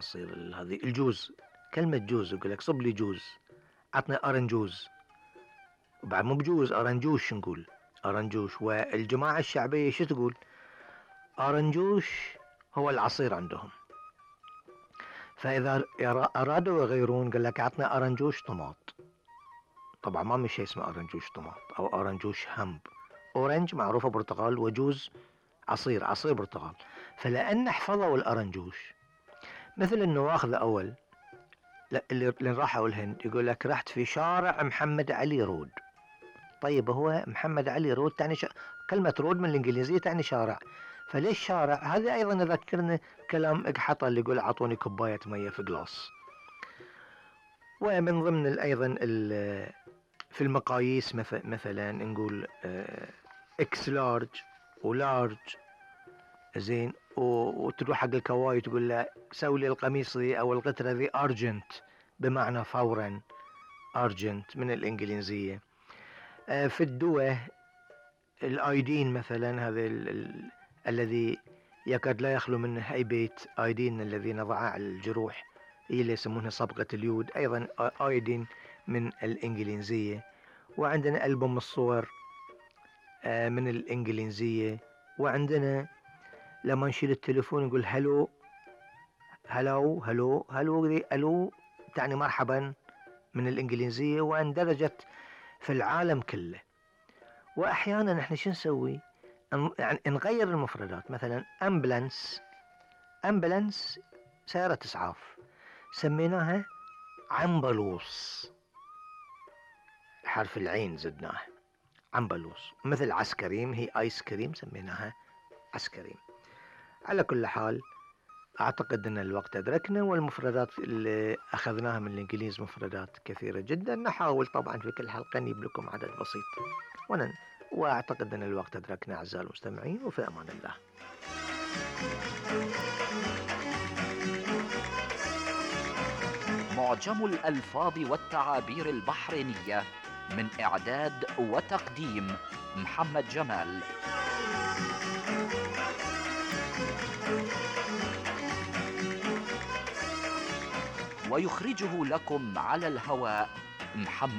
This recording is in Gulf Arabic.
عصير هذه الجوز، كلمة جوز يقول لك صب لي جوز، عطنا أرنجوز، وبعد مو بجوز أرنجوش نقول أرنجوش. والجماعة الشعبية شو تقول؟ أرنجوش هو العصير عندهم. فإذا أرادوا يغيرون قال لك عطنا أرنجوش طماط. طبعا ما من شيء اسمه أرنجوش طماط أو أرنجوش همب. أورنج معروفة برتقال، وجوز عصير برتقال. فلأن حفظوا الأرنجوش مثل النواخذ أول اللي راحوا الهند يقول لك رحت في شارع محمد علي رود. طيب هو محمد علي رود تعني كلمة رود من الإنجليزية تعني شارع، فليش شارع؟ هذا أيضا يذكرنا كلام إقحطة اللي يقول أعطوني كوباية مية في جلاس. ومن ضمن أيضا في المقاييس مثلا نقول اكس لارج ولارج، زين، وتروح حق الكواي تقول له سوي لي القميص ذي او القطرة ذي ارجنت، بمعنى فورا، ارجنت من الانجليزية. في الدواء الايدين مثلا، هذا الذي يكاد لا يخلو منه اي بيت، ايدين الذي نضعه على الجروح، هي اللي يسمونها صبغة اليود، ايضا ايدين من الانجليزية. وعندنا ألبوم الصور من الانجليزية. وعندنا لما نشيل التليفون نقول هلو هلو هلو هلو، الو تعني مرحبا من الانجليزية، واندرجت في العالم كله. واحيانا احنا شو نسوي؟ يعني نغير المفردات. مثلا امبلانس سيارة اسعاف، سميناها عنبلوص، حرف العين زدناه عنبلوص. مثل عسكريم هي ايس كريم، سميناها عسكريم. على كل حال اعتقد ان الوقت ادركنا، والمفردات اللي اخذناها من الانجليز مفردات كثيرة جدا. نحاول طبعا في كل حلقة نجيب لكم عدد بسيط، واعتقد ان الوقت ادركنا اعزائي المستمعين، وفي امان الله. معجم الألفاظ والتعابير البحرينية، من إعداد وتقديم محمد جمال. ويخرجه لكم على الهواء محمد